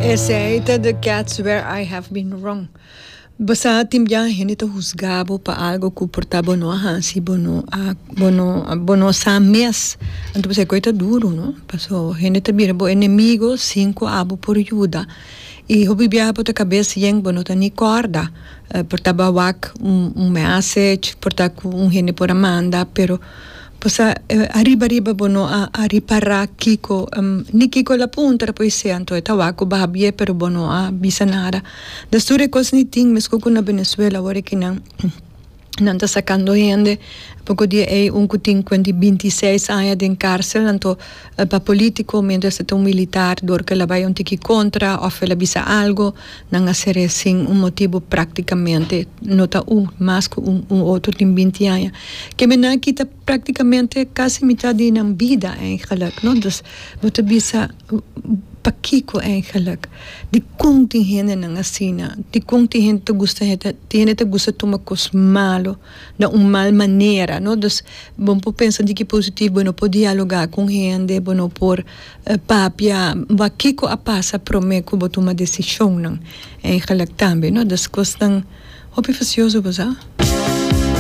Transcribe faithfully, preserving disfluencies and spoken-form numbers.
Esey ta The Cats, "Where I Have Been Wrong". Bo sa, tin bia hende ta husga bo pa algo ku por ta bo no a hasi, bo no a bo no bo no sa mes. Anto bo kos ta duro, no? Paso hende ta bira bo enemigo sin ku abo por yuda. I hopi biaha bo ta kabes yen, bo no ta ni korda. Uh, por ta b'a wak un, un message, por ta ku un hende por a manda, pero posa eh, ariba ariba bo no a, a ripará kiko um, ni kiko la punta poi se anto eta wako babie, pero bo no a bisa nada. Dus tur e kos ni tin mesco ku na Venezuela awor ku nan nan ta sakando hende. Poko dia ei un ku tin bintiseis aña den cárcel, anto eh, pa polítiko, mientras ta un militar, dor ku el a bai un tiki kontra òf el a bisa algo, nan a ser'é sin un motibu práktikamente. No ta un mas ku un, un otro tin binti aña ke men nan kita práktikamente kasi mitar di nan bida eigenlijk, no? Dus bo ta bisa, pakiko eigenlijk? Di kon tin hende nan asina? Di kon tin hende ta gusta tin hende ta gusta tuma kos malo na un mal manera, no? Dus bo por pensa di ku positivo, bo no por dialogá ku hende, bo no por uh, papia kiko a pasa promé ku bo tuma desishon nan eigenlijk tambe, no? Dus kos tan hopi fasioso, bo sa.